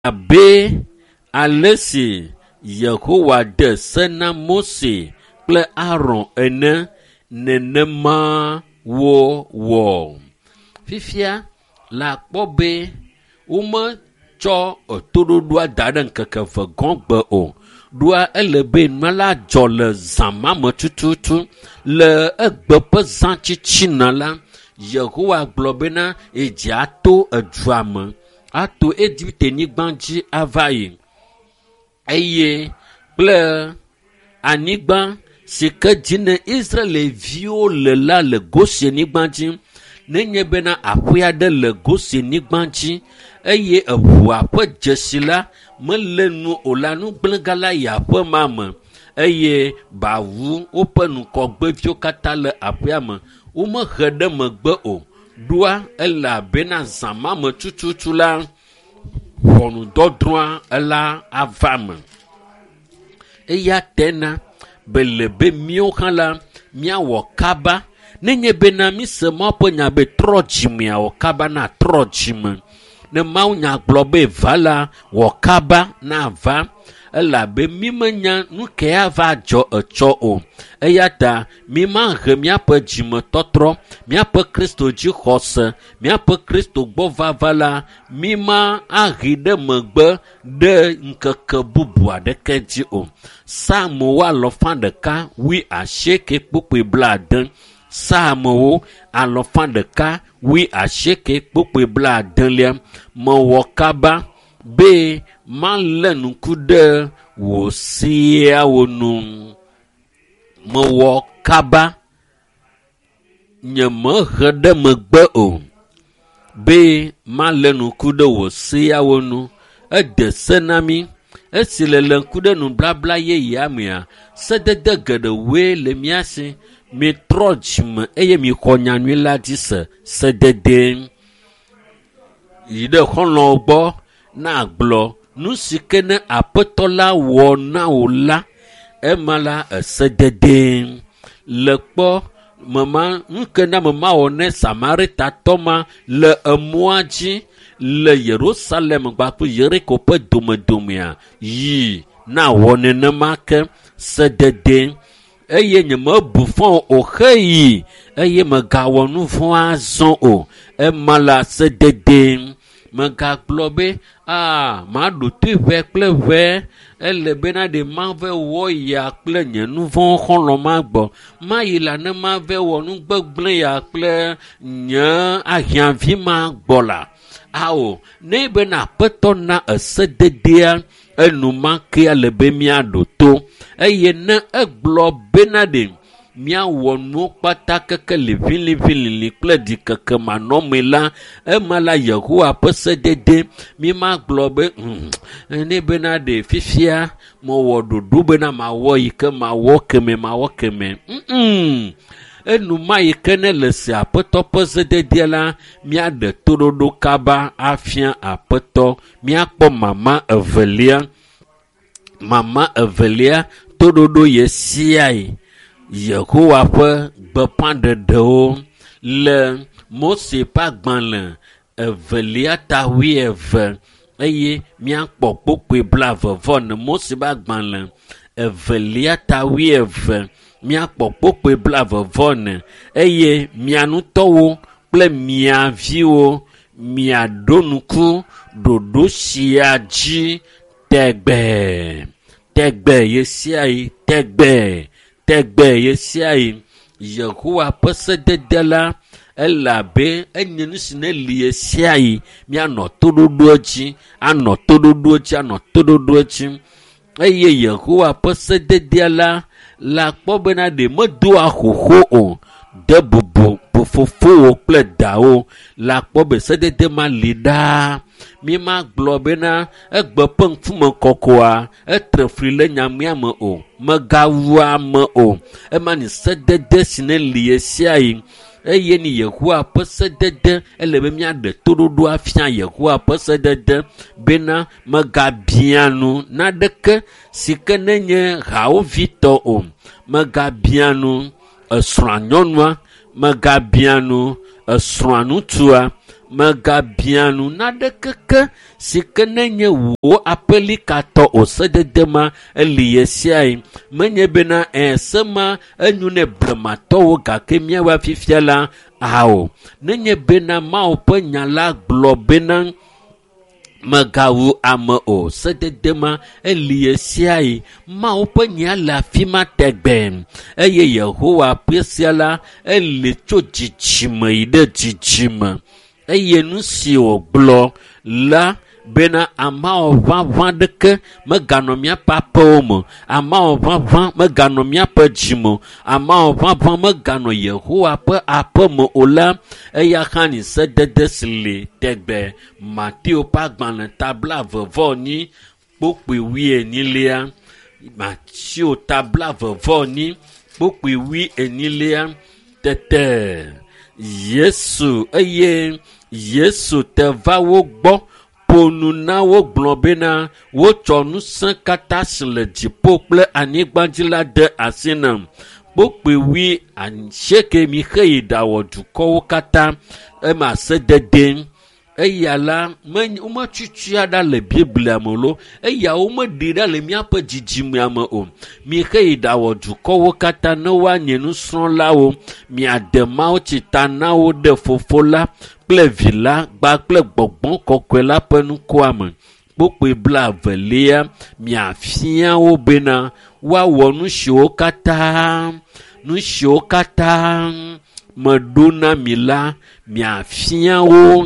Abe ale si Yehowa de se na Mose kple Aron ene, nenema wowɔ. Fifia la kpɔ be wometsɔ etoɖoɖoa da ɖe ŋkeke eve gɔ̃ gbe o. Ɖoa ele be nua la dzɔ le zã ma me tututu. Le egbe ƒe zã tsitsina la, Yehowa gblɔ bena edzi ato edua me, ato Egipte nyigba dzi ava yi eye kple anyigba si ke dzi ne Israelviwo le la le Gosenyigba dzi. Nenye bena aƒe aɖe le Gosenyigba dzi eye eʋua ƒe dzesi la mele nu o la, nugblẽga la yi aƒe ma me eye bawu woƒe ŋgɔgbeviwo katã le aƒea me. Womehe ɖe megbe o. Ɖoa elabena zã ma me tututu la, ʋɔnudɔdrɔ̃a ela ava me. Eya tena bele be míawo hã la míawɔ kaba. Nenye bena míse Mawu ƒe nya be trɔ dzimea, wɔ kaba na trɔ dzime. Ne Mawu nya gblɔ be va la, wɔ kaba na va elabe mímenya nu ke ava dzɔ etsɔ o. Eya ta mímahe míaƒe dzimetɔtrɔ, míaƒe Kristo dzixɔse, míaƒe Kristo gbɔ vava la, míma ahe ɖe megbe ɖe ŋkeke bubu aɖeke dzi o. Psalmowo alɔfa ɖeka wui asieke kpukpui blaade. Psalmowo alɔfa ɖeka wui asieke kpukpui blaadelia. Mewɔ kaba be malé ŋku ɖe wò seawo nu. Mewɔ kaba nyemehe ɖe megbe o be malé ŋku ɖe wò seawo nu. Ede se na mí esi le le ŋku ɖe nubabla yeyea mea, sedede geɖewoe le mía si. Mitrɔ dzime eye mixɔ nyanyui la dzi se. Sedede yi ɖe xɔlɔ̃wo gbɔ na gblɔ nu si ke ne aƒetɔ la wɔ na wò la, ema la esedede. Le kpɔ mema nu ke na mema wɔ ne Samaritatɔ ma le emɔa dzi le Yerusalem kpakple Yeriko ƒe domedomea yi na wɔ nenema ke sedede eye nyemebu fɔ o xeyi eye megawɔ nu vɔ̃ azɔ o. Ema la sedede. Megagblɔ be aa maɖo toe ʋɛ kple ʋɛ ele bena ɖe mave wɔ ya kple nye nu vɔ̃ xɔlɔ̃ ma gbɔ. Mayi la ne mave wɔ nu gbegblẽ ya kple nye ahiãvi ma gbɔ la. Ao, ne bena aƒetɔ na esededea enumake ele be míaɖo to eye ne egblɔ bena ɖe míawɔ nuwo kpata keke liʋiliʋilili kple ɖikeke manɔmee la, ema la Yehowa ƒe sedede. Mímagblɔ be hmm, ne bena ɖe fifia mewɔ ɖoɖo bena mawɔ yi ke mawɔ keme mawɔ keme. Mm Enuma yi ke ne le se aƒetɔ ƒe sededea la, míaɖe toɖoɖo kaba afia aƒetɔ. Míakpɔ mama evelia. Mama evelia toɖoɖo ɣe sia ɣi. Yehowa ƒe gbeƒãɖeɖewo le Mose ƒe agbalẽ evelia ta wuieve eye míakpɔ kpukpui blaeve vɔ ene. Mose ƒe agbalẽ evelia ta wuieve míakpɔ kpukpui blaeve vɔ ene eye mia ŋutɔwo kple mia viwo miaɖo ŋku ɖoɖo sia dzi tegbee. Tegbee ɣe sia ɣi tegbee tegbee ɣe sia ɣi. Yehowa ƒe sedede la elabe enye nu si ne li ɣe sia ɣi míanɔ toɖoɖoa dzi anɔ toɖoɖoa dzi anɔ toɖoɖoa dzi eye Yehowa ƒe sededea la la kpɔ bena ɖe medoa xoxo o. De bubu fofowò kple dawò la kpɔ be sedede ma li ɖaa. Mímagblɔ bena egbe ƒe ŋkume kɔkɔa etre fli le nyamea me o. Megawu ame o. Ema nye sedede si ne li ɣe sia ɣi eye ni Yehowa ƒe sedede ele be míaɖe toɖoɖo afia Yehowa ƒe sedede bena megabia nu naɖeke si ke nenye hawòvitɔ o. Megabia nu esrɔ̃a nyɔnua, megabia nu esrɔ̃a ŋutsua, Mègabia nu naɖekeke si ke nenye wò aƒelikatɔ o. Sedede ma eli ɣe sia ɣi. Menye bena se ma enyo ne blematɔwo gake míawoa fifia la ao. Nenye bena Mawu ƒe nya la gblɔ bena mègawu ame o. Sedede ma eli ɣe sia ɣi. Mawu ƒe nya le afi ma tegbe eye Yehowa ƒe sia la eli tso dzidzime yi ɖe dzidzime. Eye nu si wògblɔ la bena amawɔ ʋaʋã ɖeke meganɔ míaƒe aƒewo me, amawɔ ʋaʋã meganɔ míaƒe dzime o, amawɔ ʋaʋã meganɔ Yehowa ƒe aƒe me o la, eya hã nyi sedede si li tegbe. Mateo ƒe agbalẽ ta 24 kpukpui 40. Mateo ta 24 kpukpui 40. Tete Yesu eye Yesu te va wo gbɔ ƒo nu na wo gblɔ bena wotsɔ ŋusẽ katã si le dziƒo kple anyigba dzi la de asi nam. Kpukpui 80 mixe yi ɖawɔ dukɔwo katã ema sedede. Eya la wometsutsua ɖa le Biblia me lo, eya womeɖi ɖa le míaƒe dzidzimea me o. Mixe yi ɖawɔ dukɔwo katã ne woanye nusrɔ̃lawo. Miade mawutsi ta na wo ɖe Fofo la kple Vi la kpakple Gbɔgbɔ Kɔkɔe la ƒe ŋkɔa me. Kpukpui 20 miafia wo bena woawɔ nu siwo katã meɖo na mi la, miafia wo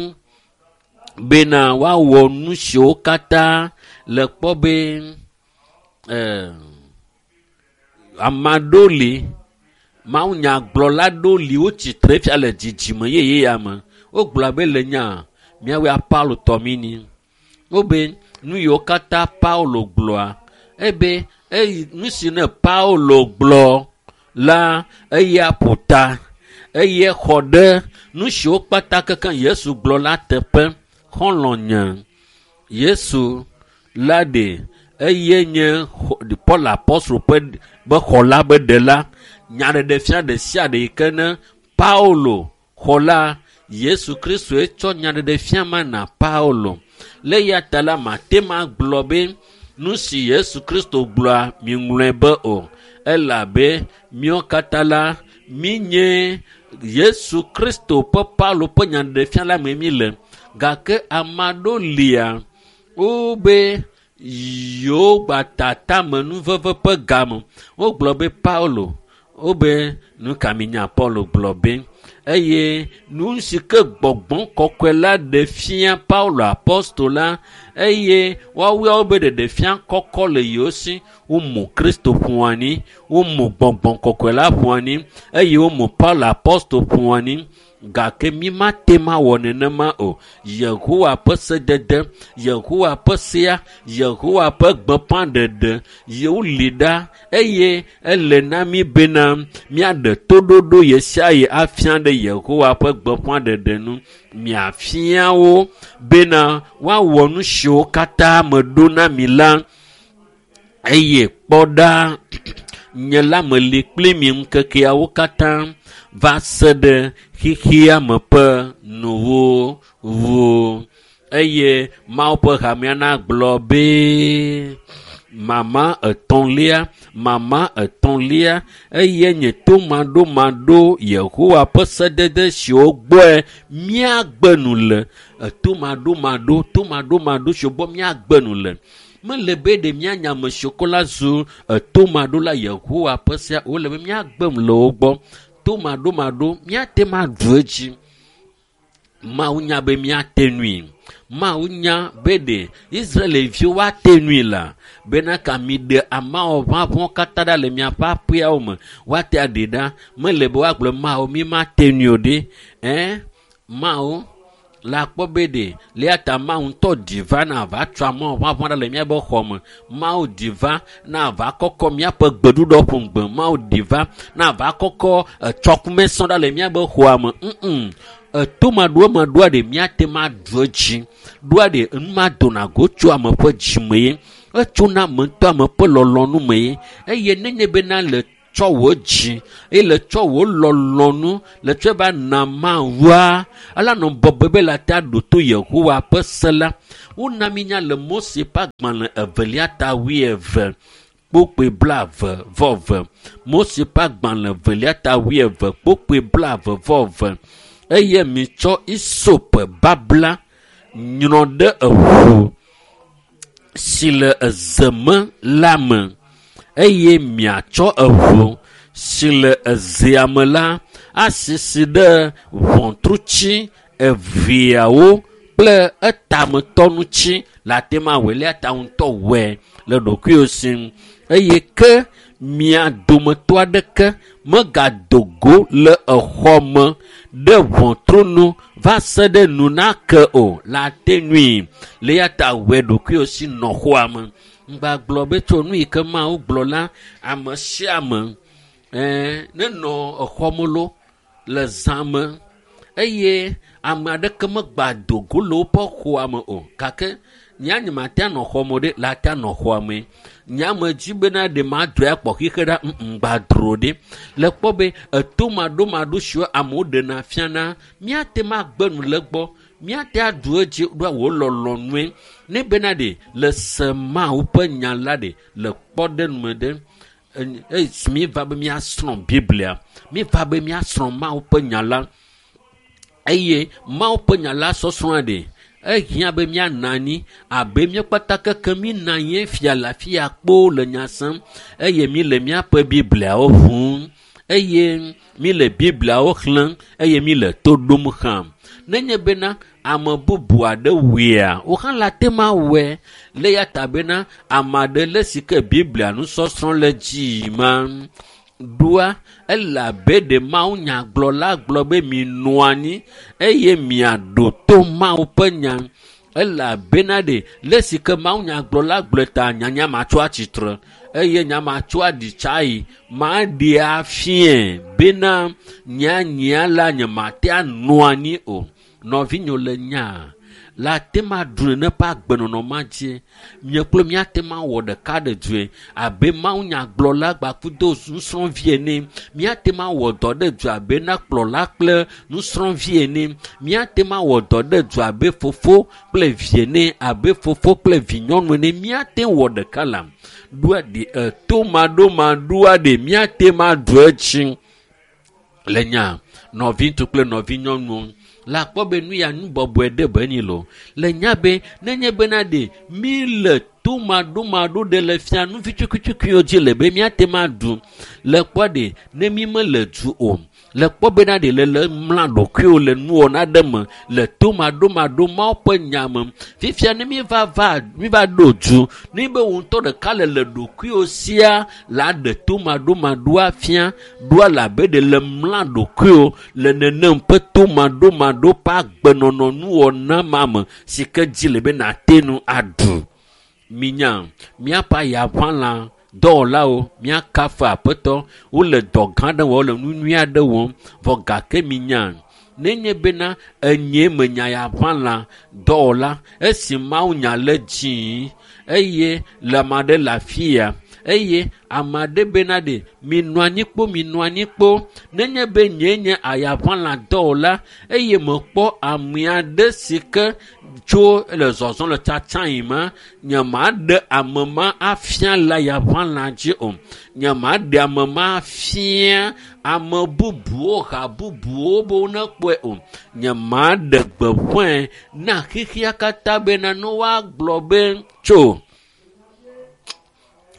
bena woawɔ nu siwo katã le kpɔ be ame aɖewo li, mawunyagblɔla aɖewo li wotsi tre fia le dzidzime yeye ya me. Wogblɔ be le nya míawoe Paulo tɔ mí ni. Wobe nu yiwo katã Paulo gblɔa, ebe eyi nu si ne Paulo gblɔ la eya ƒo ta eye xɔ ɖe nu siwo kpata kekeŋ Yesu gblɔ la teƒe. Xɔlɔ̃nye Yesu la ɖe eye nye Paul apostol ƒe be xɔla be ɖela. Nyaɖeɖefia ɖe sia ɖe yi ke ne Paulo xɔ la, Yesu Kristoe tsɔ nyaɖeɖefia ma na Paulo. Le eya ta la mate ma gblɔ be nu si Yesu Kristo gblɔa miŋlɔe be o, elabe míawo katã la míenye Yesu Kristo ƒe Paulo ƒe nyaɖeɖefia la me míle. Gake ame aɖewo lia wobe yewo gba tamenuveve ƒe game. Wogblɔ be Paulo, wobe nu ka minya Paulo gblɔ be eye nu si ke Gbɔgbɔ Kɔkɔe la ɖe fia Paulo apostol la, eye woawoe be ɖeɖe fia kɔkɔ le yewo si. Womu Kristo ƒo anyi, womu Gbɔgbɔ Kɔkɔe la ƒo anyi eye womu Paulo apostol ƒo anyi. Gake mi mate ma wɔ nenema o. Yehowa ƒe sedede, Yehowa ƒe sea, Yehowa ƒe gbeƒãɖeɖe yewo li ɖa eye ele na mi bena míaɖe toɖoɖo ɣe sia ɣi afia ɖe Yehowa ƒe gbeƒãɖeɖe nu. Miafia wo bena woawɔ nu siwo katã meɖo na mi la. Eye kpɔ ɖa, nye la meli kpli mi ŋkekeawo katã va se ɖe xexea me ƒe nuwuwu. Eye Mawu ƒe hamea nagblɔ be mama etɔ̃lia eye nye tomaɖomaɖo Yehowa ƒe sedede siwo gbɔe míagbe nu le. Tomaɖomaɖo siwo gbɔ míagbe nu le. Mele be ɖe míanya ame siwo ko la zu tomaɖola Yehowa ƒe sea, wole be míagbe nu le wo gbɔ. Tomaɖomaɖo míate ŋu aɖu edzi. Mawu nya be míate nui. Mawu nya be ɖe Israelviwo woate nui la bena ka mi ɖe amawɔ ʋaʋãwo katã ɖa le miaƒe aƒeawo me. Woate aɖe ɖa. Mele be woagblɔ Mawu mi mate nui o ɖe. Mawu la kpɔ be ɖe le ta Mawu ŋutɔ ɖi va na va tsɔ amawɔ ʋaʋã ɖa le míaƒe xɔ me. Mawu ɖi va na va kɔkɔ míaƒe gbeɖuɖɔ ƒo ŋgbe. Mawu ɖi va na va kɔkɔ etsɔkumesɔ ɖa le míaƒe xɔa me. Tomaɖomaɖoa ɖe míate ŋu aɖu edzi. Ɖoa ɖe nu ma dona go tso ame ƒe dzime ye. Etsona ame ŋutɔ ame ƒe lɔlɔ̃nu me ye. Eye nenye bena le Tsɔ wò dzi eye le tsɔ wò lɔlɔ̃nu le tsɔe va na Mawua. Ela nɔ bɔbɔe be la te aɖo to Yehowa ƒe se la. Wona mi nya le Mose ƒe agbalẽ evelia ta 20 kpokpoe 22. Mose ƒe agbalẽ evelia ta 20 kpokpoe 22. Eye mitsɔ isop babla nyrɔ ɖe eʋu si le eze me la me eye miatsɔ eʋu si le ezea me la asisi ɖe ʋɔtrutsi eveawo kple etametɔ ŋuti le ate ma wɔe le ta ŋutɔ wɔe le ɖokuiwò si eye ke mia dometɔ aɖeke megado go le exɔ me ɖe ʋɔtru nu va se ɖe nu nake o le ate nui le ya ta wɔe ɖokuiwò si nɔ xɔa me. Ŋgba gblɔ be tso nu yi ke Mawu gblɔ la ame sia ame nenɔ exɔ me lo le zã me eye ame aɖeke megba do go le woƒe xɔa me o gake nya nye mate anɔ xɔ me ɖe la te anɔ xɔa me. Nya me dzi bena ɖe madɔe akpɔ xixe ɖa ŋgba dro ɖe le kpɔ be eto maɖomaɖo siwo amewo ɖena fiana míate ma gbe nu le gbɔ míate aɖu edzi ɖoa wò lɔlɔ̃nue ne bena ɖe le se Mawu ƒe nya la ɖe le kpɔɖeŋu ɖe esi mi va be míasrɔ̃ Biblia mi va be míasrɔ̃ Mawu ƒe nya la eye Mawu ƒe nya la sɔsrɔ̃a ɖe ehiã be míanɔ anyi abe míakpata keke míenɔ anyi fia le afi ya kpoo le nya sem eye mi le míaƒe Bibliawo ʋum eye mi le Bibliawo xlẽm eye mi le to ɖom hã. Nenye bena ame bubu aɖe wɔea, wo hã le ate ma wɔe le ya ta bena ame aɖe le si ke Biblia nusɔsrɔ̃ le dzi ma ɖoa ele abe ɖe mawunyagblɔla gblɔ be minɔ anyi eye miaɖo to Mawu ƒe nya. Ele abena ɖe le si ke mawunyagblɔla gblɔe ta nyanya matso atsitre eye nya matso aɖi tsayi maɖe afie bena nyanyia la nye mate anɔ anyi o. Nɔvinyewo le nya la ate ma ɖu nene ƒe agbenɔnɔ ma dzi. Nye kple míate ma wɔ ɖeka ɖe due abe mawunyagblɔla gbakudo nusrɔ̃vi ene. Míate ma wɔ dɔ ɖe du abe na kplɔla kple nusrɔ̃vi ene. Míate ma wɔ dɔ ɖe du abe fofo kple vi ene, abe fofo kple vinyɔnu ene. Míate wɔ ɖeka la ɖoa ɖe eto maɖomaɖoa ɖe míate ma ɖu edzi le nya nɔviŋutsu kple nɔvinyɔnuwo. La kpɔ be nu ya nu bɔbɔe ɖe be nyi lo. Le nya be nenye bena ɖe mi le to maɖomaɖo ɖe le fia nu vi tsukutsukuiwo dzi le be míate ma ɖu. Le kpɔ ɖe ne mi mele du o. Le kpɔ bena ɖe le le mla ɖokuiwo le nuwɔna ɖe me le to maɖomaɖo Mawu ƒe nya me. Fifia ne mi va va mi va ɖo du ne be wo ŋutɔ ɖeka le le ɖokuiwo sia la ɖe to maɖomaɖoa fia ɖoa le abe ɖe le mla ɖokuiwo le nenem ƒe to maɖomaɖo ƒe agbenɔnɔ nuwɔna ma me si ke dzi le be nate nu aɖu. Minya míaƒe ayaʋãla dɔwɔlawo míakafu aƒetɔ wole dɔ gã aɖe wɔm wole nu nyui aɖe wɔm vɔ gake minya nenye bena enye menya yaʋãla dɔwɔla esi Mawu nya le dzii eye le ame aɖe le afi ya eye ame aɖe bena ɖe minɔ anyi kpo minɔ anyi kpo nenye be nye nye ayaʋãla dɔwɔla eye mekpɔ ame aɖe si ke tso le zɔzɔm le tsatsa yi ma nye ma ɖe ame ma afia le ayaʋãla dzi o nye ma ɖe ame ma afia ame bubuwo ha bubuwo be wonekpɔe o nye ma ɖe gbeƒãe na xexea katã bena ne woagblɔ be tso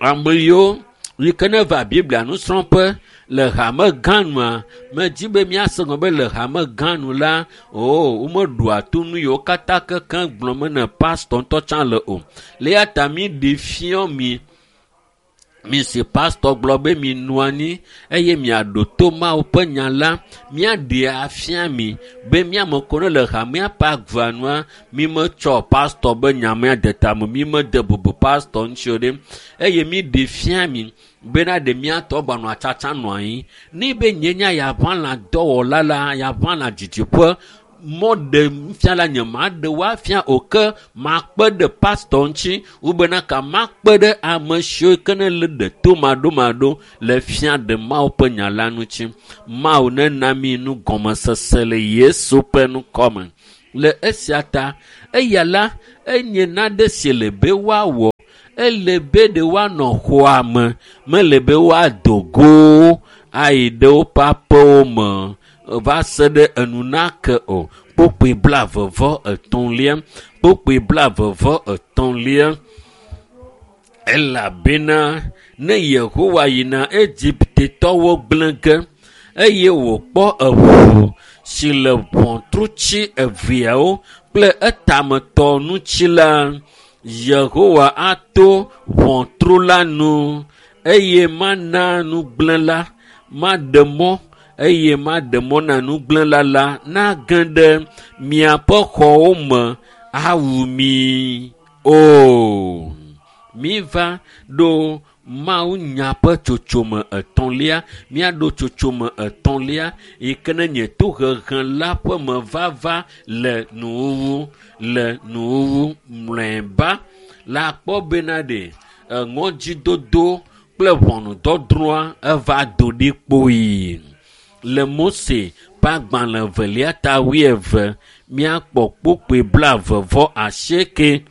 ame yiwo yi ke ne va Biblia nusrɔ̃ƒe le hame gã nua medzi be míase gɔme be le hame gã nu la o womeɖoa to nu yiwo katã kekeŋ gblɔm ne pastɔ ŋutɔ tsã le o le ya ta mi ɖe fiɔ mi mi si pastɔ gblɔ be mi nɔ anyi eye miaɖo to Mawu ƒe nya la míaɖe afia mi be míame ko ne le hamea ƒe agba nua mi metsɔ pastɔ be nya mea de tame mi mede bubu pastɔ ŋuti o ɖe eye mi ɖe fia mi bena ɖe míatɔ gbanɔ atsatsa nɔ anyi ne be nye nya yaʋãla dɔwɔla la yaʋãla didiƒe Mɔ ɖe fia la nye ma ɖe woafia o ke makpe ɖe pastɔ ŋuti wobena ka makpe ɖe ame siwo ke ne le ɖe to maɖomaɖo le fia ɖe Mawu ƒe nya la ŋuti. Mawu nena mi nugɔmesese le Yesu ƒe ŋkɔme. Le esia ta eya la enye nane si le be woawɔ. Ele be ɖe woanɔ xɔa me, mele be woado go ayi ɖe woƒe aƒewo me va se ɖe enu nake o. Kpokpoe 33, kpokpoe 33. Elabena ne Yehowa yina Egiptetɔwo gblẽ ge eye wòkpɔ eʋu si le ʋɔtrutsi eveawo kple etametɔ ŋuti la, Yehowa ato ʋɔtru la nu eye mana nugblẽla maɖe mɔ eye maɖe mɔ na nugblẽla la nage ɖe miaƒe xɔwo me awu mi o. Miva ɖo Mawu nya ƒe tsotsome etɔ̃lia. Míaɖo tsotsome etɔ̃lia yi ke ne nye tohehe la ƒe mevava le nuwuwu le nuwuwu mlɔeba la kpɔ bena ɖe eŋɔdzidodo kple ʋɔnudɔdrɔ̃a eva do ɖi kpoyi. Le Mose ƒe agbalẽ evelia ta 20 míakpɔ kpokpoe 28.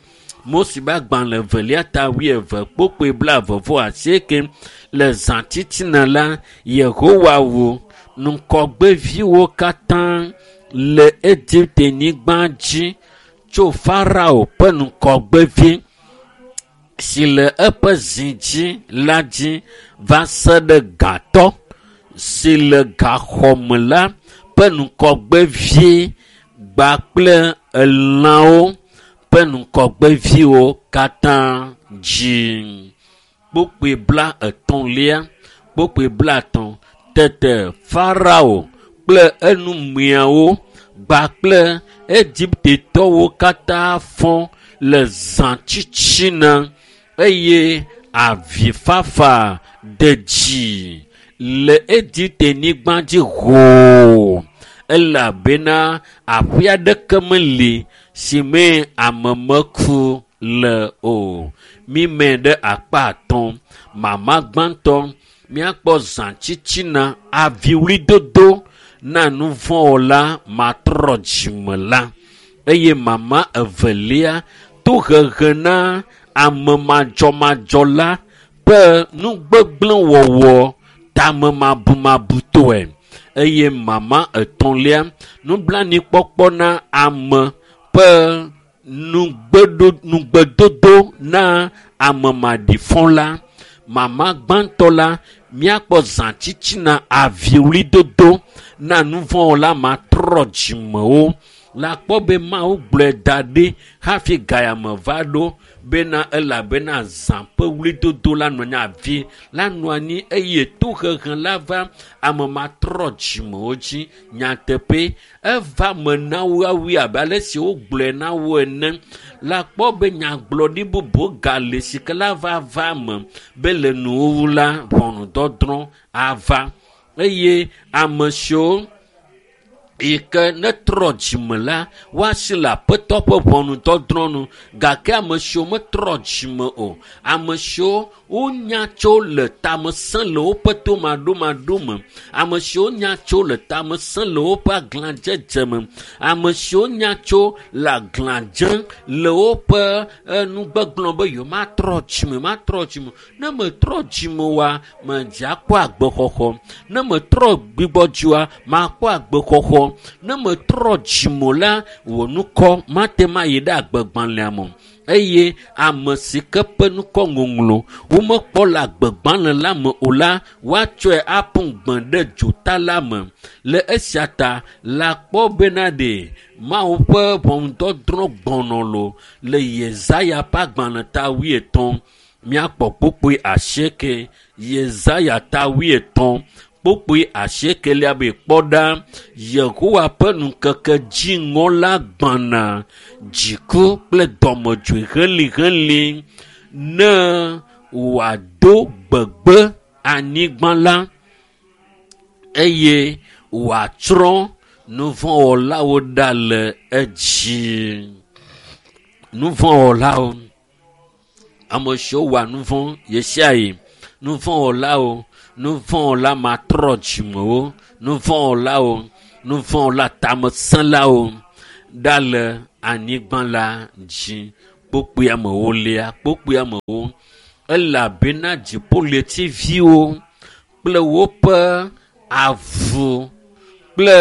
Mose ƒe agbalẽ evelia ta 20 kpokpoe 28. Le zã titina la, Yehowa wu ŋkɔgbeviwo katã le Egipte-nyigba dzi tso Farao ƒe ŋkɔgbevi si le eƒe zi dzi la dzi va se ɖe gatɔ si le gaxɔme la ƒe ŋkɔgbevi gba kple elãwo ƒe ŋkɔgbeviwo katã dzi. Kpokpoe 33, kpokpoe 50. Tete Farao kple enumeawo gba kple Egiptetɔwo katã fɔ le zã tsitsina eye avifafa de dzi le Egipte-nyigba dzi hoo, elabena aƒe aɖeke meli si mee ame meku le o. Mime ɖe akpa atɔ̃. Mama gbãtɔ míakpɔ zã tsitsina aviwlidodo na nuvɔ̃wɔla matrɔ dzime la eye mama evelia tohehe na ame madzɔmadzɔ la ƒe nugbegblẽwɔwɔ tamemabumabutɔe eye mama etɔ̃lia nublanuikpɔkpɔ na ame ƒe nugbedodo na ame maɖifɔ la. Mama gbãtɔ la míakpɔ zã tsitsina aviwlidodo na nuvɔ̃wɔla matrɔ dzimewo. La kpɔ be Mawu gblɔe da ɖi hafi gayame va ɖo bena elabena zã ƒe wlidodo la nɔ anyi avi la nɔ anyi eye tohehe la va ame matrɔ dzimewo dzi. Nyateƒe eva me na woawoe abe ale si wogblɔe na wo ene. La kpɔ be nyagblɔɖi bubu gale si ke la va va me be le nuwuwu la ʋɔnudɔdrɔ̃ ava eye ame siwo yi ke netrɔ dzime la woasi le aƒetɔ ƒe ʋɔnudɔdrɔ̃ nu gake ame siwo metrɔ dzime o, ame siwo wonya tso le tamesẽ le woƒe tomaɖomaɖo me, ame siwo nya tso le tamesẽ le woƒe aglãdzedze me, ame siwo nya tso le aglãdze le woƒe nugbegblɔ be yewomatrɔ dzime, matrɔ dzime. Ne metrɔ dzime oa, medze akpɔ agbexɔxɔ. Ne metrɔ gbigbɔdzua, makpɔ agbexɔxɔ. Ne metrɔ dzime o la, wò ŋkɔ mate ŋu ayi ɖe agbegbalẽa me o. Eye ame si ke ƒe ŋkɔ ŋɔŋlɔ womekpɔ le agbegbalẽ la me o la, woatsɔe aƒu gbe ɖe dzota la me. Le esia ta la kpɔ bena ɖe Mawu ƒe ʋɔnudɔdrɔ̃ gbɔnɔ lo le Yesaya ƒe agbalẽ ta 80. Míakpɔ kpokpoe 8. Yesaya ta 80 kpokpoe 8 be kpɔ ɖa Yehowa ƒe ŋkeke dziŋɔ la gbɔna, dziku kple dɔmedzoe helĩhelĩ ne wòado gbegbe anyigba la eye wòatsrɔ̃ Nuvɔ̃wɔlawo ɖa le edzi. Nuvɔ̃wɔlawo, ame siwo wɔa nuvɔ̃ ɣesiaɣi. Nuvɔ̃wɔlawo, nuvɔ̃wɔla matrɔ dzimewo, nuvɔ̃wɔlawo, nuvɔ̃wɔla tamesẽlawo ɖa le anyigba la dzi. Kpukpui amewolia, kpukpui amewo elabena dziƒoɣletiviwo kple woƒe avu kple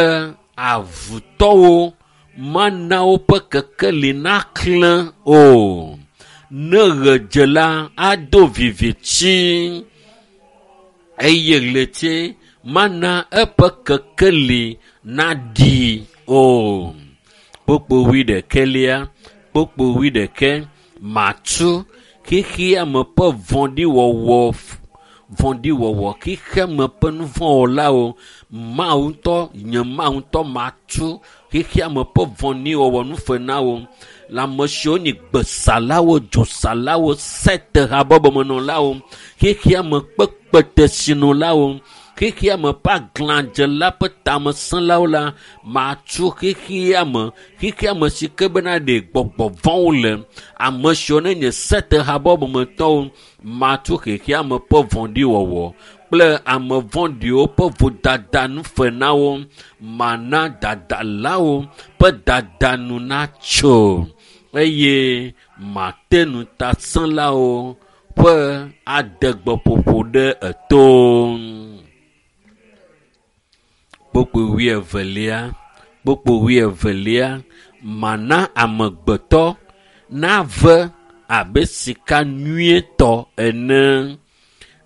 avutɔwo mana woƒe kekeli naklẽ o. Ne ɣe dze la, ado viviti eye ɣleti mana eƒe kekeli naɖi o. Kpukpui wuiɖekɛlia, kpukpui wuiɖekɛ, matu xexeame ƒe vɔ̃ɖiwɔwɔ vɔ̃ɖiwɔwɔ, xexeame ƒe nuvɔ̃wɔlawo, Mawu ŋutɔ, nye Mawu ŋutɔ matu xexeame ƒe vɔ̃ɖiwɔwɔ nu fe na wo. Le ame siwo nye gbesalawo, dzosalawo, sete habɔbɔmenɔlawo, xexeame ƒe kpetesinɔlawo, xexeame ƒe aglãdzela ƒe tamesẽlawo la, matu xexeame, xexeame si ke bena ɖe gbɔgbɔ vɔ̃wo le. Ame siwo ne nye sete habɔbɔmetɔwo, matu xexeame ƒe vɔ̃ɖiwɔwɔ kple ame vɔ̃ɖiwo ƒe vodada nu fe na wo. Mana dadalawo ƒe dada nu natso eye mate ŋutasẽlawo ƒe adegbeƒoƒo ɖe eto. Kpukpui wuievelia, kpukpui wuievelia, mana amegbetɔ nave abe sika nyuietɔ ene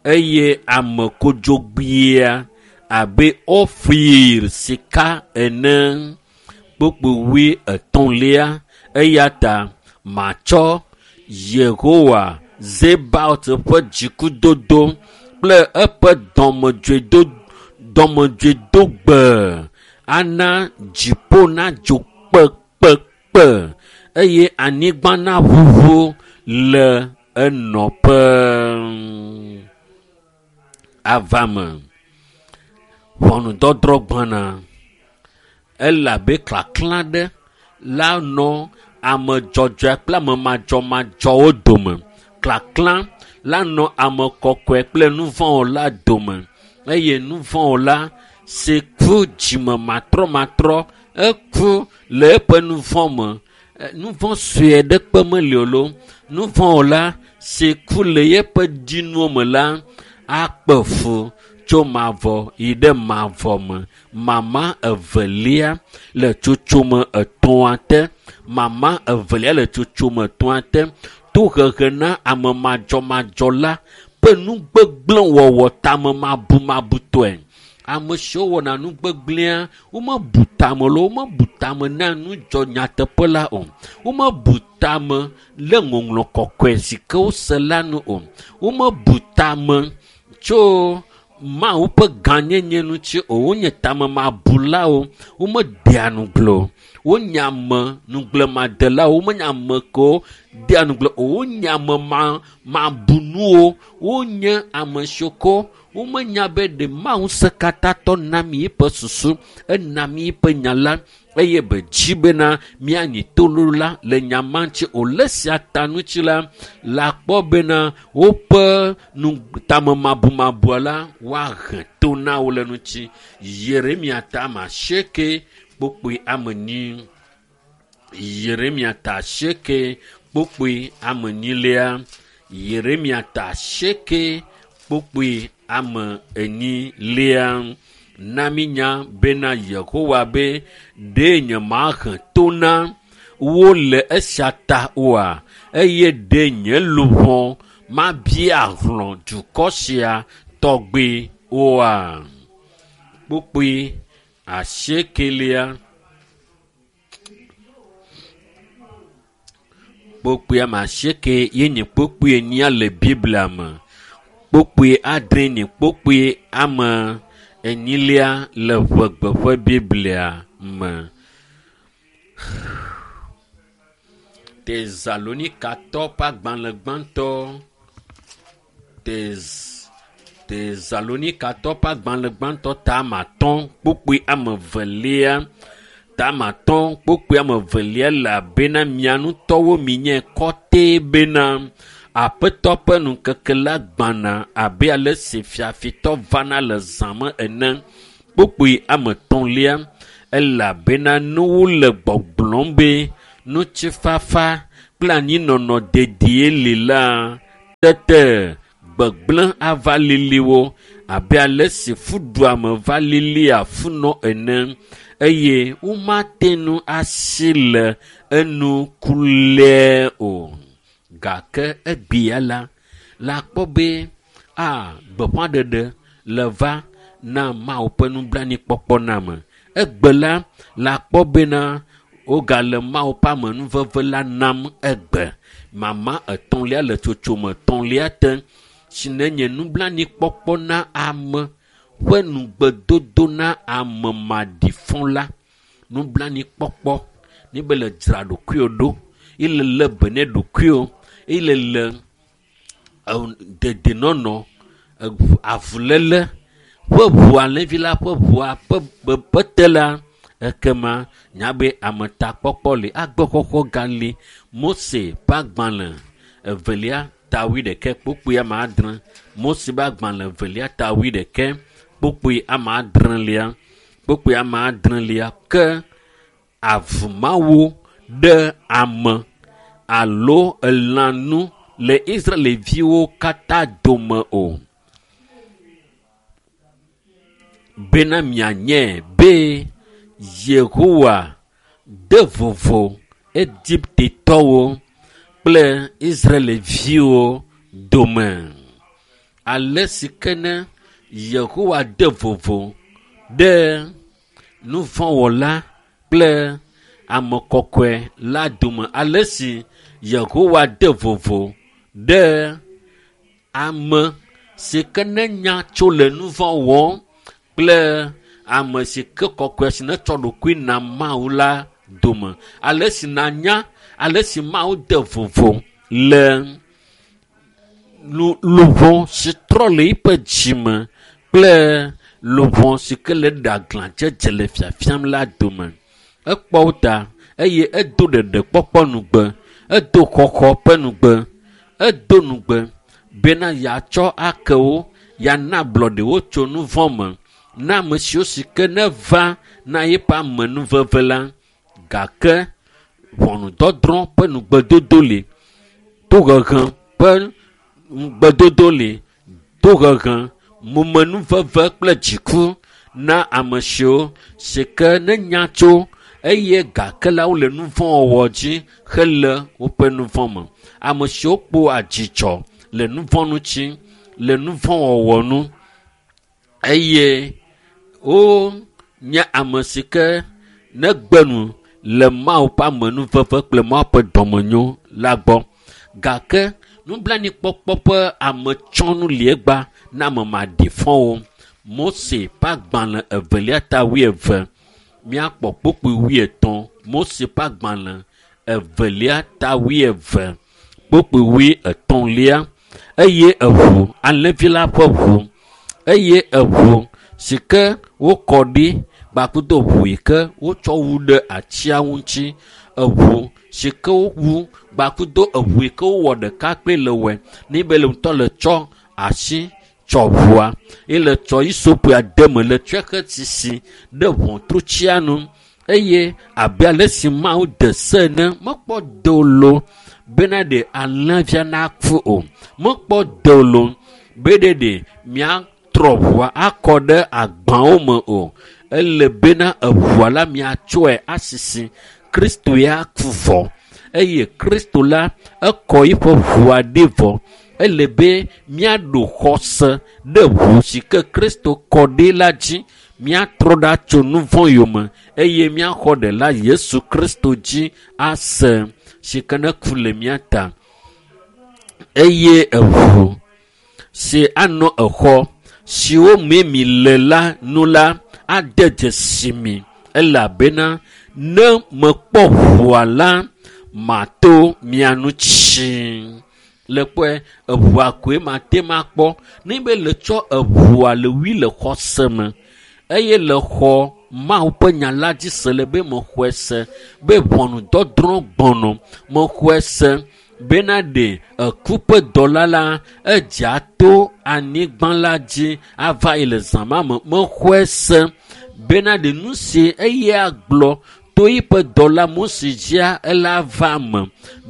eye ame kodzogbea abe Ofir sika ene. Kpukpui wuietɔ̃lia, eya ta matsɔ Yehowa Zebaot ƒe dzikudodo kple eƒe dɔmedzoedo dɔmedzoedogbe ana dziƒo nadzo kpekpekpe eye anyigba naʋuʋu le enɔƒe. Ava me. Ʋɔnudɔdrɔ̃ gbɔna. Ele abe klaklã ɖe la nɔ ame dzɔdzɔe kple ame madzɔmadzɔwo dome. Klaklã la nɔ ame kɔkɔe kple nuvɔ̃wɔla dome eye nuvɔ̃wɔla si ku dzime matrɔmatrɔ eku le eƒe nuvɔ̃ me. Nuvɔ̃ sue ɖe kpe meli o loo. Nuvɔ̃wɔla si ku le yeƒe dzinuwo me la akpe fu tso mavɔ yi ɖe mavɔ me. Mama evelia le tsotsome etɔ̃a te. Mama evelia le tsotsome etɔ̃a te. Tohehe na ame madzɔmadzɔ la ƒe nugbegblẽwɔwɔ tamemabumabutɔe. Ame siwo wɔna nu gbegblẽa, womebu tame loo, womebu tame na nudzɔ nyateƒe la o. Womebu tame le ŋɔŋlɔ kɔkɔe si ke wose la nu o. Womebu tame tso Mawu ƒe gãnyenye ŋuti o. Wonye tamemabulawo. Womedea ŋugble o. Wonye ame ŋugblemadelawo. Womenye ame kewo dea ŋugble o. Wonye ame ma mabunuwo. Wonye ame siwo ke womenya be ɖe Mawu ŋusẽkatãtɔ na mi eƒe susu, ena mi eƒe nya la eye be dzi bena míanyi toɖola le nya ma ŋuti o. Le esia ta ŋuti la, le akpɔ bena woƒe nu tamemabumabua la woahe to na wo le ŋuti. Yeremia ta ame asieke kpukpui ame enyi. Yeremia ta asieke kpukpui ame enyilia. Yeremia ta asieke kpukpui ame enyilia. Na mínya bena Yehowa be ɖe nyemahe to na wo le esia ta oa? Eye ɖe nye luʋɔ mabia hlɔ̃ dukɔ sia tɔgbi oa? Kpukpui asiekelia. Kpukpui ame asieke ye nye kpukpui enyia le Biblia me. Kpukpui adre nye kpukpui ame enyilia le ʋegbe ƒe Biblia me. Tesalonikatɔ ƒe agbalẽ gbãtɔ Tez Tesalonikatɔ ƒe agbalẽ gbãtɔ ta 5 kpukpui 2. Ta 5 kpukpui 2 elabena mia ŋutɔwo minye kɔtɛ bena Aƒetɔ ƒe ŋkeke la gbana abe ale si fiafitɔ vana le zã me ene. Kpukpui 3 elabena nuwo le gbɔgblɔm be ŋutifafa kple anyinɔnɔ dedie li la, tete gbegblẽ ava lili wo abe ale si fuɖuame va lili afunɔ ene, eye womate ŋu asi le enu kulɛe o. Gake egbea la, la kpɔ be gbeƒãɖeɖe le va na Mawu ƒe nublanuikpɔkpɔ na ame. Egbe la, la kpɔ bena wogale Mawu ƒe amenuveve la nam egbe. Mama 3 le tsotsome 3 te si nenye nublanuikpɔkpɔ na ame ƒe nugbedodo na ame maɖifɔ la. Nublanuikpɔkpɔ ni be le dzra ɖokuiwò ɖo, ile lé be ne ɖokuiwò, ile le dedienɔnɔ, avuléle ƒe ʋu alẽvi la ƒe ʋua ƒe ƒe te la, ekema nya be ametakpɔkpɔ li, agbexɔxɔ gali. Mose ƒe agbalẽ 2 ta 21 kpukpui 6. Mose ƒe agbalẽ 2 ta 21 kpukpui 6. Kpukpui 6 ke avumawu ɖe ame alo elãnu le Israelviwo katã dome o. Bena mianye be Yehowa de vovo Egiptetɔwo kple Israelviwo dome. Ale si ke ne Yehowa de vovo ɖe nuvɔ̃wɔla kple ame kɔkɔe la dome. Ale si Yehowa de vovo ɖe ame si ke ne nya tso le nuvɔ̃ wɔm kple ame si ke kɔkɔe si ne tsɔ ɖokui na Mawu la dome. Ale si nanya, ale si Mawu de vovo le luʋɔ si trɔ le eƒe dzime kple luʋɔ si ke le ɖe aglãdzedze le fiafiam la dome. Ekpɔ wo ta eye edo ɖeɖekpɔkpɔ nugbe, edo xɔxɔ ƒe nugbe, edo nugbe bena yeatsɔ ake wo, yeana ablɔɖe wo tso nuvɔ̃ me na ame siwo si ke ne va na yeƒe amenuveve la. Gake ʋɔnudɔdrɔ̃ ƒe nugbedodo li, tohehe ƒe nugbedodo li, tohehe, momenuveve kple dziku na ame siwo si ke ne nya tso eye gake la wole nuvɔ̃wɔwɔ dzi hele woƒe nuvɔ̃ me. Ame siwo kpɔa dzidzɔ le nuvɔ̃ ŋuti, le nuvɔ̃wɔwɔ nu eye wonye ame si ke negbe nu le Mawu ƒe amenuveve kple Mawu ƒe dɔmenyo la gbɔ. Gake nublanuikpɔkpɔ ƒe ametsɔnu li egba na ame maɖifɔwo. Mose ƒe agbalẽ 2 ta 20, míakpɔ kpukpui 80. Mose ƒe agbalẽ 2 ta 20 kpukpui 80. Eye eʋu, alẽvi la ƒe ʋu, eye eʋu si ke wokɔ ɖi kpakudo ʋu yi ke wotsɔ wu ɖe atia ŋuti, eʋu si ke wowu kpakudo eʋu yi ke wowɔ ɖeka kple le wɔe ni be le ŋutɔ le tsɔ asi tsɔ ʋua ye le tsɔ isopua de me le tsɔe he sisi ɖe ʋɔtrutsia nu eye abe ale si Mawu de se ene mekpɔ dolo bena ɖe alẽvia naku o, mekpɔ dolo be ɖe ɖe miatrɔ ʋua akɔ ɖe agbawo me o. Ele bena eʋua la miatsɔe asisi. Kristo ya ku vɔ eye Kristo la ekɔ eƒe ʋua ɖi vɔ. Ele be míaɖo xɔse ɖe ʋu si ke Kristo kɔ ɖi la dzi, míatrɔ ɖa tso nuvɔ̃ yome eye míaxɔ ɖela Yesu Kristo dzi ase si ke ne ku le mía ta. Eye eʋu si anɔ exɔ siwo mee mi le la nu la ade dzesi mi, elabena ne mekpɔ ʋua la, mato mia ŋuti. Le kpɔe eʋua koe mate ma kpɔ. Ne be le tsɔ eʋua le wui le xɔse me eye le xɔ Mawu ƒe nya la dzi se le be mexɔe se be ʋɔnudɔdrɔ̃ gbɔnɔ. Mexɔe se bena ɖe eku ƒe dɔla la edzea to anyigba la dzi ava yi le zã ma me. Mexɔe se bena ɖe nu si eya gblɔ to yiƒe dɔla Mose dzia ela va me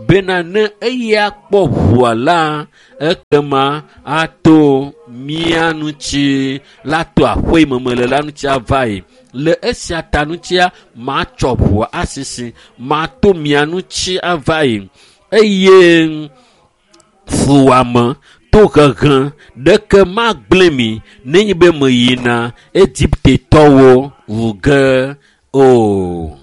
bena ne eya kpɔ ʋua la ekema ato mía ŋuti la to aƒe yi me mele la ŋuti ava yi. Le esia ta ŋutia matsɔ ʋua asisi mato mia ŋuti ava yi eye fuwɔame tohehe ɖeke magblẽ mi nenye be meyina Egiptetɔwo wu ge o.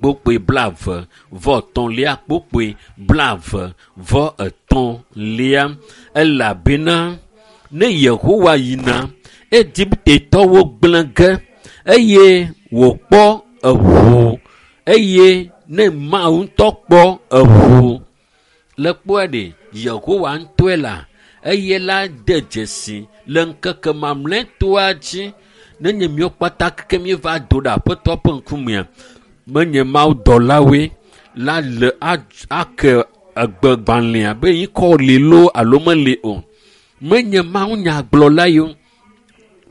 Kpokpoe 23 kpokpoe 23 elabena ne Yehowa yina Egiptetɔwo gblẽ ge eye wòkpɔ eʋu eye ne Mawu ŋutɔ kpɔ eʋu le kpɔe ɖe Yehowa ŋutɔe la eye la de dzesi le ŋkeke mamlɛtɔa dzi nenye míawo kpata keke míeva do ɖe Aƒetɔ ƒe ŋkumea menye Mawu dɔlawoe la le ake egbegbalẽa be yikɔ li loo alo meli o. Menye Mawu nyagblɔla ye o.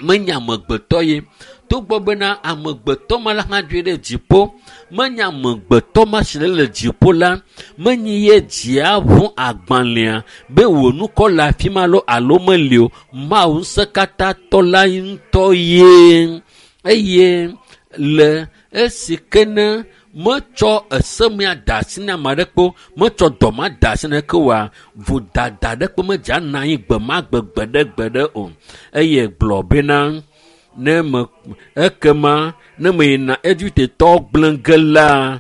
Menye amegbetɔ ye. Togbɔ bena amegbetɔ ma la hã dzoe ɖe dziƒo. Menye amegbetɔ ma si le dziƒo la, menye ye dzia ʋu agbalẽa be wò nukɔ le afi ma loo alo meli o. Mawu ŋusẽkatãtɔ la ŋutɔ ye. Eye le esi ke ne metsɔ esemea da asi na ame aɖeke o, metsɔ dɔ ma da asi na ɖeke oa, vodada ɖeke medze anɔ anyi gbe ma gbe gbeɖegbeɖe o. Eye gblɔ bena ne me ekema ne meyina Egiptetɔwo gblẽ ge la,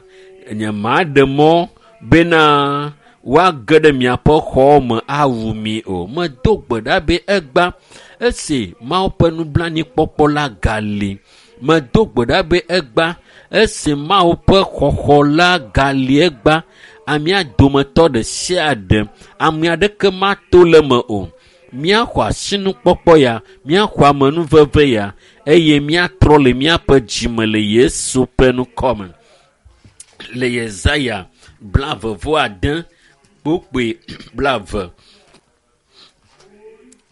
nye maɖe mɔ bena woage ɖe miaƒe xɔwo me awu mi o. Medo gbe ɖa be egba esi Mawu ƒe nublanuikpɔkpɔ la gali. Medo gbe ɖa be egba esi Mawu ƒe xɔxɔ la gali egba amea dometɔ ɖe sia ɖe ame aɖeke mato le eme o. Míaxɔ asinukpɔkpɔ ya, míaxɔ amenuveve ya eye míatrɔ le míaƒe dzime le Yesu ƒe ŋkɔ me. Le Yesaya 26 kpokpoe 20.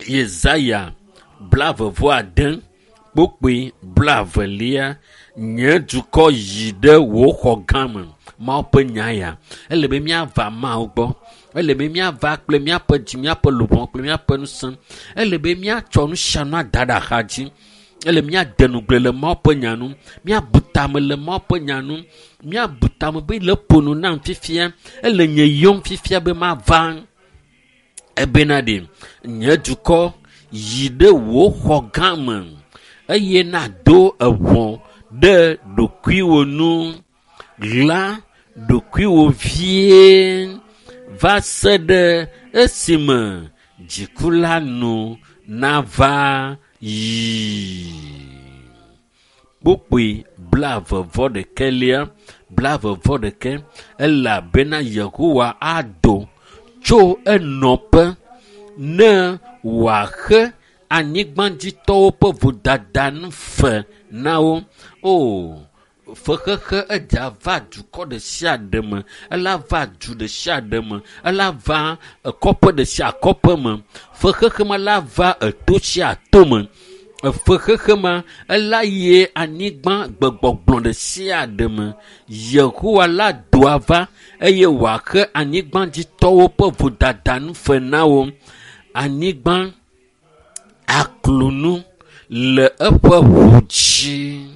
Yesaya 26 kpokpoe 20 nye dukɔ yi ɖe wò xɔ gã me. Mawu ƒe nya ya. Ele be míava Mawu gbɔ. Ele be míava kple míaƒe dzi, míaƒe luʋɔ kple míaƒe ŋusẽ. Ele be míatsɔ nu sia nu ada ɖe axa dzi. Ele míade ŋugble le Mawu ƒe nya nu. Míabu tame le Mawu ƒe nya nu. Míabu tame be le ƒo nu nam fifia. Ele nye yɔm fifia be mava. Ebena ɖe nye dukɔ yi ɖe wò xɔ gã me eye nado eʋɔ ɖe ɖokuiwò nu. Ɣla ɖokuiwò vie va se ɖe esime dziku la nu nava yi. Kpokpoe 21 21 elabena Yehowa ado tso enɔƒe ne wòaxe anyigbadzitɔwo ƒe vodada nu fe na wo. O, fexexe edza va dukɔ ɖe sia ɖe me, ela va du ɖe sia ɖe me, ela va kɔƒe ɖe sia kɔƒe me. Fexexe ma la va eto sia to me. Fexexe ma ela yi anyigba gbegbɔgblɔ ɖe sia ɖe me. Yehowa la doa va eye wòaxe anyigbadzitɔwo ƒe vodada nu fe na wo. Anyigba aklo nu le eƒe ʋu dzi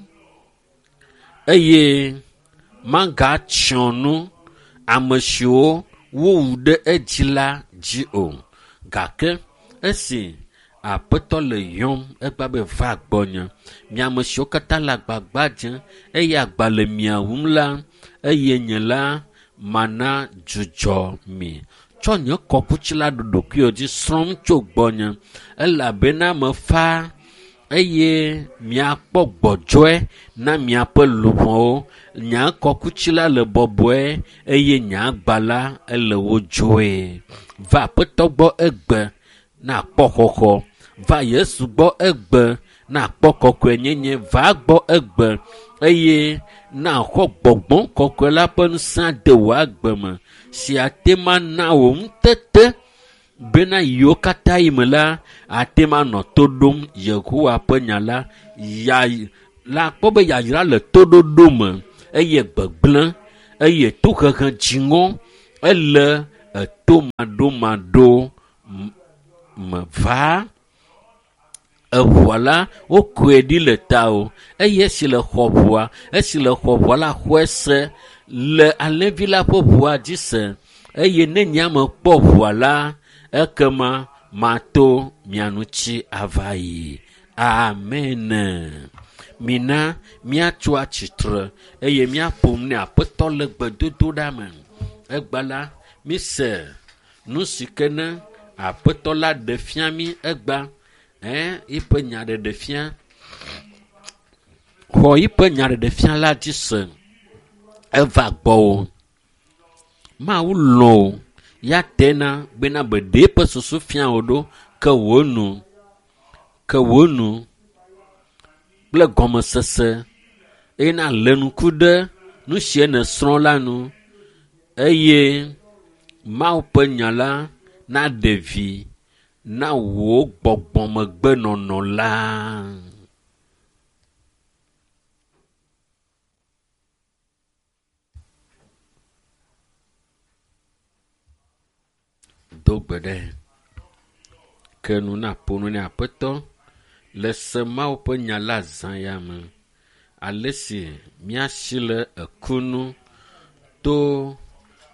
eye magatsyɔ nu ame siwo wowu ɖe edzi la dzi o. Gake esi Aƒetɔ le yɔm egba be va gbɔnye, mi ame siwo katã le agbagba dzem eye agba le mia wum la, eye nye la mana dzudzɔ mi. Tsɔ nye kɔkuti la ɖo ɖokuiwò dzi, srɔ̃m tso gbɔnye elabena mefa eye miakpɔ gbɔdzɔe na miaƒe luʋɔwo. Nye kɔkuti la le bɔbɔe eye nye agba la ele wodzoe. Va Aƒetɔ gbɔ egbe na akpɔ xɔxɔ. Va Yesu gbɔ egbe na akpɔ kɔkɔenyenye. Va gbɔ egbe eye na xɔ gbɔgbɔ kɔkɔe la ƒe ŋusẽ de wò agbe me si ate ma na wò ŋutete bena yiwo katã yi me la ate ma nɔ to ɖom Yehowa ƒe nya la. Ya la kpɔ be yayra le toɖoɖo me eye gbegblẽ eye tohehe dziŋɔ ele eto maɖomaɖo me va. Eʋua la wokɔe ɖi le tawò eye esi le xɔ ʋua esi le xɔ ʋua la xɔe se le alẽvi la ƒe ʋua dzi se eye ne nye ame kpɔ ʋua la ekema mato mia ŋuti ava yi. Amen. Mina míatso atsitre eye míaƒo nu ne Aƒetɔ le gbedodoɖa me. Egba la, mise nu si ke ne Aƒetɔ la ɖe fia mí egba. Eƒe nya ɖeɖe fia. Xɔ eƒe nya ɖeɖe fia la dzi se. Eva gbɔwò. Mawu lɔ̃ wò. Ya tena bena be ɖe eƒe susu fia wò ɖo ke wò nu. Ke wò nu kple gɔmesese eye nalé ŋku ɖe nu si nèsrɔ̃ la nu eye Mawu ƒe nya la naɖe vi na wò gbɔgbɔmegbenɔnɔ la. Do gbe ɖe ke nu naƒo nu ne Aƒetɔ le se Mawu ƒe nya la zã ya me. Ale si míasi le eku nu to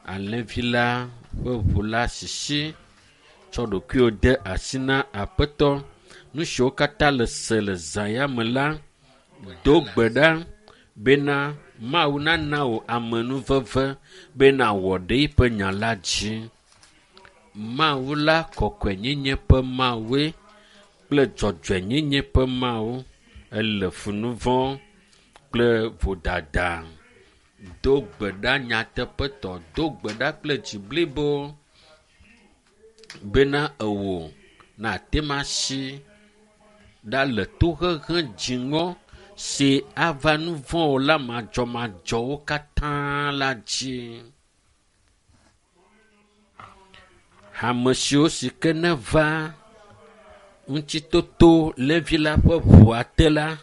alẽvi la ƒe ʋu la sisi tsɔ ɖokuiwò de asi na Aƒetɔ. Nu siwo katã le se le zã ya me la, do gbe ɖa bena Mawu nana wò amenuveve bena wɔ ɖe eƒe nya la dzi. Mawu la kɔkɔenyenye ƒe Mawue kple dzɔdzɔenyenye ƒe Mawu. Ele fu nu vɔ̃ kple vodada. Do gbe ɖa nyateƒetɔ, do gbe ɖa kple dzi blibo bena ewò nàte ŋu asi ɖa le tohehe dziŋɔ si ava nu vɔ̃wɔla madzɔmadzɔwo katã la dzi. Ame siwo si ke neva ŋutitoto levi la ƒe ʋua te la,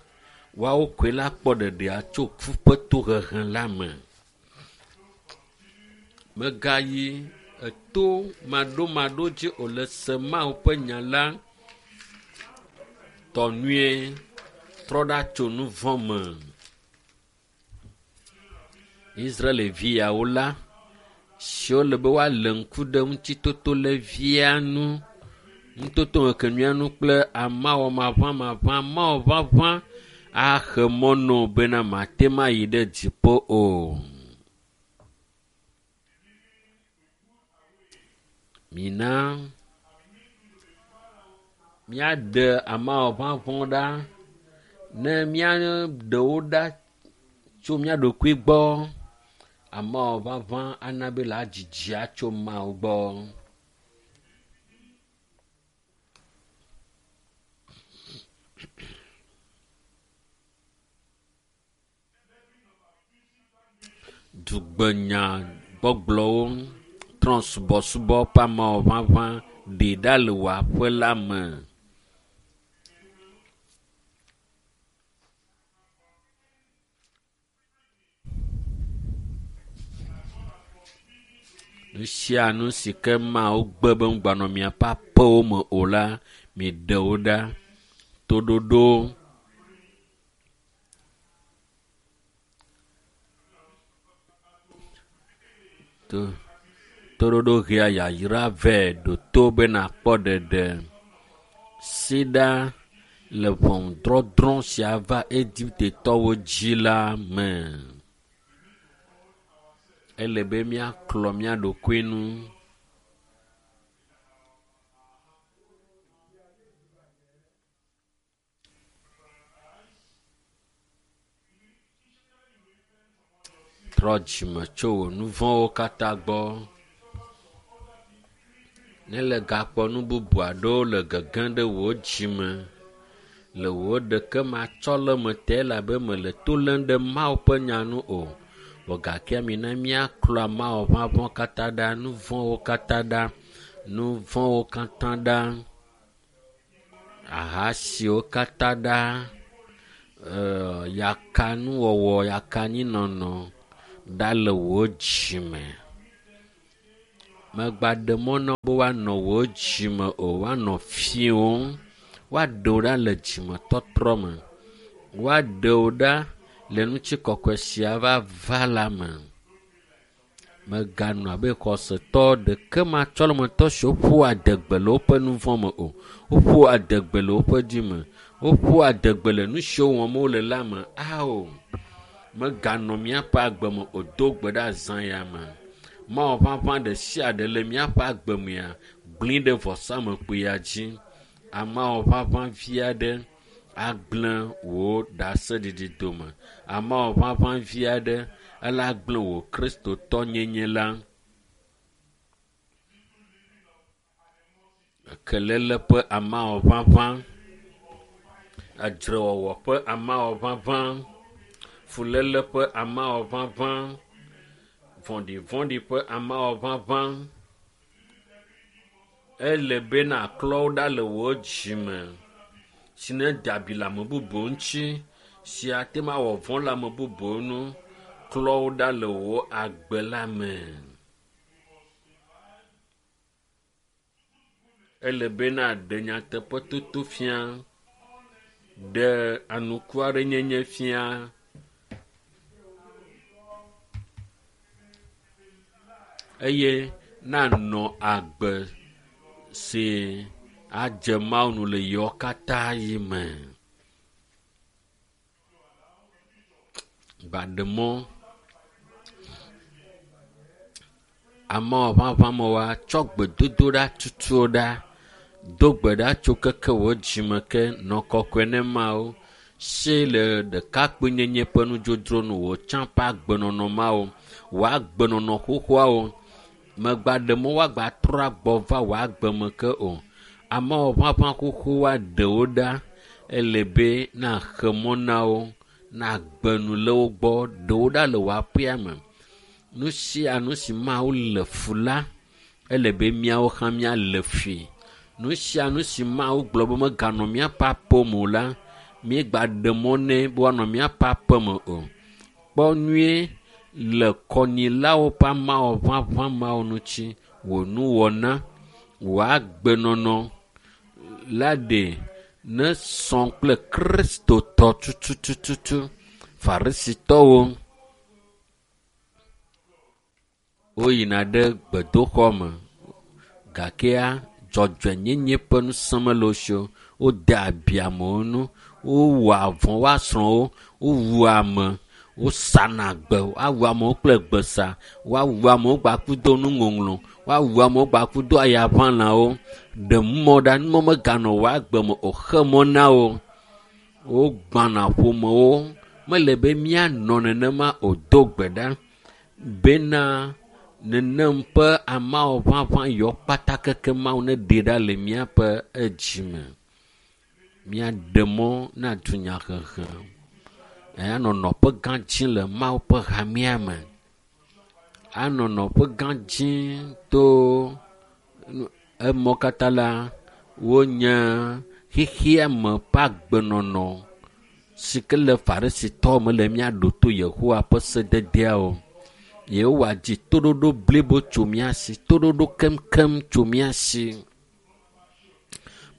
woawo koe la kpɔ ɖeɖea tso ku ƒe tohehe la me. Mègayi eto maɖomaɖo dzi o le se Mawu ƒe nya la tɔ nyuie. Trɔ ɖa tso nu vɔ̃ me. Israelviawo la, siwo le be woalé ŋku ɖe ŋutitoto levia nu, ŋutoto ŋkekenyuia nu kple amawɔmaʋãmaʋã, amawɔʋaʋã ahe mɔ na wò bena màte ŋu ayi ɖe dziƒo o. Mina míaɖe amawɔʋaʋã ɖa ne míaɖe wo ɖa tso mía ɖokui gbɔ. Amawɔʋaʋã ana be la dzidzia tso Mawu gbɔ. Dugbenya gbɔgblɔwo trɔ̃subɔsubɔ ƒe amewɔʋaʋã ɖi ɖa le wò aƒe la me. Nu sia nu si ke Mawu gbe be ŋugbanɔ miaƒe aƒewo me o la, miɖe wo ɖa. Toɖoɖo to toɖoɖo hea yayra vɛ ɖo to be nàkpɔ ɖeɖe. Si ɖa le ʋɔnudɔdrɔ̃ si ava Egiptetɔwo dzi la me. Ele be míaklɔ mía ɖokui nu. Trɔ dzime tso wò nu vɔ̃wo katã gbɔ. Ne le gakpɔ nu bubu aɖewo le gegem ɖe wò dzime le wò ɖekematsɔleme te elabe mele to lém ɖe Mawu ƒe nya nu o. Vɔ gakea mina míaklɔ amawɔʋaʋã katã ɖa, nu vɔ̃wo katã ɖa, nu vɔ̃wo katã ɖa, ahasiwo katã ɖa, yakanuwɔwɔ, yakanyinɔnɔ ɖa le wò dzime. Megbaɖe mɔ na wo be woanɔ wò dzime o, woanɔ fiẽwòm, woaɖe wo ɖa le dzimetɔtrɔ me, woaɖe wo ɖa le ŋutikɔkɔe sia va va la me. Meganɔ abe xɔsetɔ ɖekematsɔlemetɔ siwo ƒoa adegbe le woƒe nu vɔ̃ me o. Woƒoa adegbe le woƒe dzi me. Woƒoa adegbe le nu siwo wɔm wole la me. Ao, meganɔ míaƒe agbe me o. Do gbe ɖe azã ya me. Mawu ʋaʋã ɖe sia ɖe le míaƒe agbe mea, gblẽ ɖe vɔsamlekpuia dzi. Amawɔ ʋaʋã vi aɖe agblẽ wò ɖaseɖiɖi dome. Amawɔ ʋaʋã vi aɖe ela gblẽ wò kristotɔnyenye la. Kelele ƒe amawɔ ʋaʋã, edzrewɔwɔ ƒe amawɔ ʋaʋã, fuléle ƒe amawɔ ʋaʋã, vɔ̃ɖivɔ̃ɖi ƒe amawɔ ʋaʋã. Ele be nàklɔ wo ɖa le wò dzime si ne de abi le ame bubuwo ŋuti si ate ŋu awɔ vɔ̃ le ame bubuwo ŋu. Klɔ wo ɖa le wò agbe la me. Ele be nàɖe nyateƒetoto fia, ɖe anukuaɖenyenye fia. Eye nanɔ agbe si adze Mawu nu le yewo katã yi me. Gbaɖe mɔ amewo ʋaʋã me woatsɔ gbedodoɖa tutu ɖa. Do gbe ɖa tso keke wò dzime ke nɔ kɔkɔe ne Mawu. Si le ɖekakpuinyenye ƒe nudzodzro nu wò tsã ƒe agbenɔnɔ mawo, wò agbenɔnɔ xoxoawo. Megbaɖe mɔ woagbatrɔ agbɔ va wò agbe me ke o. Amewo ʋaʋã xoxo woaɖe wo ɖa. Ele be naxe mɔ na wo, nagbe nu le wo gbɔ, ɖe wo ɖa le wò aƒea me. Nu sia nu si Mawu le fu la, ele be míawo hã míalé fui. Nu sia nu si Mawu gblɔ be meganɔ míaƒe aƒe me o la, míegbaɖe mɔ nɛ be woanɔ míaƒe aƒe me o. Kpɔ nyuie le kɔnyilawo ƒe amawɔ ʋaʋã mawo ŋuti. Wò nuwɔna, wò agbenɔnɔ la ɖe ne sɔ kple kristotɔ tutututu. Farisitɔwo woyina ɖe gbedoxɔ me gakea dzɔdzɔenyenye ƒe ŋusẽ mele wo si o. Wode abi amewo ŋu, wowɔa vɔ̃ woa srɔ̃wo, wowua ame, wosana gbe, woawu amewo kple gbesa, woawu amewo gbakudo nuŋɔŋlɔ, woawu amewo gbakudo ayaʋãlawo. Ɖe mɔ ɖa numɔ meganɔ wò agbe me o, xe mɔ na wo. Wogbãna ƒomewo. Mele be míanɔ nenema o. Do gbe ɖa bena nenem ƒe amawɔ ʋaʋã yɔ kpata keke Mawu neɖe ɖa le míaƒe edzime. Míaɖe mɔ na dunyahehe anɔ nɔƒe gã dzi le Mawu ƒe hamea me. Anɔ nɔƒe gã dzi to emɔ katã la wonye xexea me ƒe agbenɔnɔ si ke le Farisitɔwo me le míaɖo to Yehowa ƒe sededeawo. Yehowa dzi toɖoɖo blibo tso mía si, toɖoɖo keŋkeŋ tso mía si.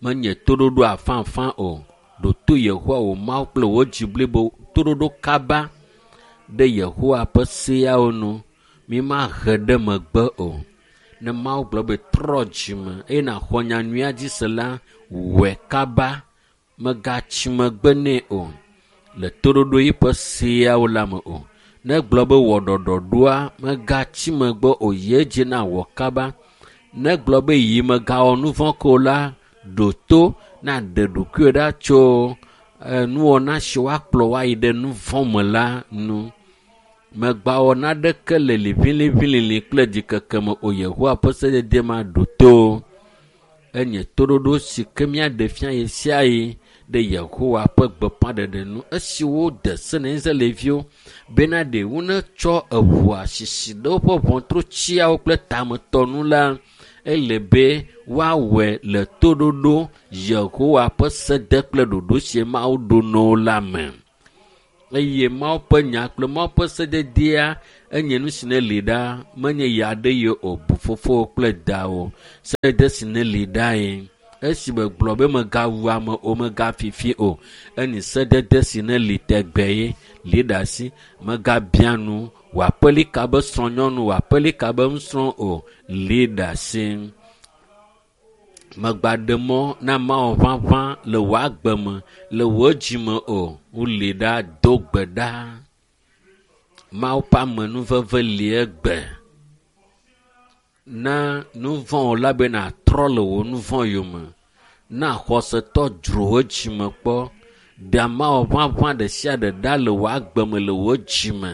Menye toɖoɖo afãafã o. Ɖo to Yehowa wò Mawu kple wò dzi blibo. Toɖoɖo kaba ɖe Yehowa ƒe seawo nu. Mímahe ɖe megbe o. Ne Mawu gblɔ be trɔ dzime eye nàxɔ nyanyuia dzi se la, wɔe kaba. Megatsi megbe nɛ o le toɖoɖo yiƒe seawo la me o. Ne gblɔ be wɔ ɖɔɖɔɖoa, megatsi megbe o. Yi edzi na wɔ kaba. Ne gblɔ be yi megawɔ nu vɔ̃ ko la, ɖo to naɖe ɖokuiwò ɖa tso nuwɔna si woakplɔ woayi ɖe nu vɔ̃ me la nu. Megbawɔ naɖeke le liʋiliʋilili kple ɖikeke me o Yehowa ƒe sedede ma ɖo to. Enye toɖoɖo si ke míaɖe fia ɣe sia ɣi ɖe Yehowa ƒe gbeƒãɖeɖe nu esi wode se na Israelviwo bena ɖe wonetsɔ eʋua sisi ɖe woƒe ʋɔtrutsiawo kple tametɔ nu la, ele be woawɔe le toɖoɖo Yehowa ƒe sede kple ɖoɖo si Mawu ɖo na wo la me. Eye Mawu ƒe nya kple Mawu ƒe sededea enye nu si ne li ɖa, menye ya aɖe ye o, bu fofowò kple dawò. Sedede si ne li ɖae. Esi megblɔ be megawu ame o, megafifi o, enyi sedede si ne li tegbe ye li ɖe asi. Megabia nu wò aƒelika be srɔ̃nyɔnu, wò aƒelika be nusrɔ̃ o, li ɖe asi. Megbaɖe mɔ na Mawu ʋaʋã le wò agbe me, le wò dzime o. Woli ɖa, do gbe ɖa. Mawu ƒe amenuveve li egbe. Na nu vɔ̃ la be nàtrɔ le wò nu vɔ̃ yome. Na xɔsetɔ dzro wò dzime kpɔ. Ɖe Mawu ʋaʋã ɖe sia ɖe ɖa le wò agbe me le wò dzime.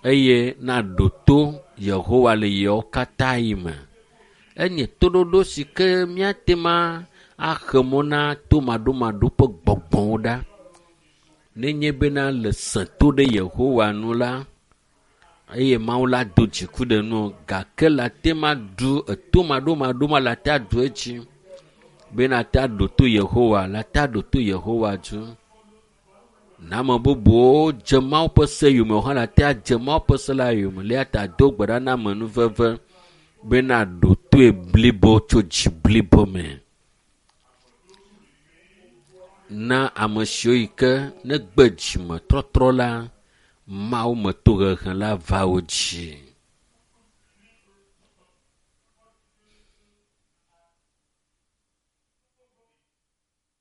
Eye naɖo to Yehowa le yewo katã yi me. Enye toɖoɖo si ke míate ma axe mɔ na tomaɖomaɖo ƒe gbɔgbɔwo ɖa. Nenye bena le sẽ to ɖe Yehowa nu la, eye Mawu la do dziku ɖe nu gake le ate ma ɖu etomaɖomaɖo ma le ate aɖu edzi bena ate aɖo to Yehowa, le ate aɖo to Yehowa dzi. Na ame bubuwo dze Mawu ƒe se yome hã le ate adze Mawu ƒe se la yome. Le eya ta do gbe ɖa na amenuveve bena ɖo toe blibo tso dzi blibo me. Na ame siwo yi ke negbe dzimetɔtrɔ la, Mawu me tohehe la va wo dzi.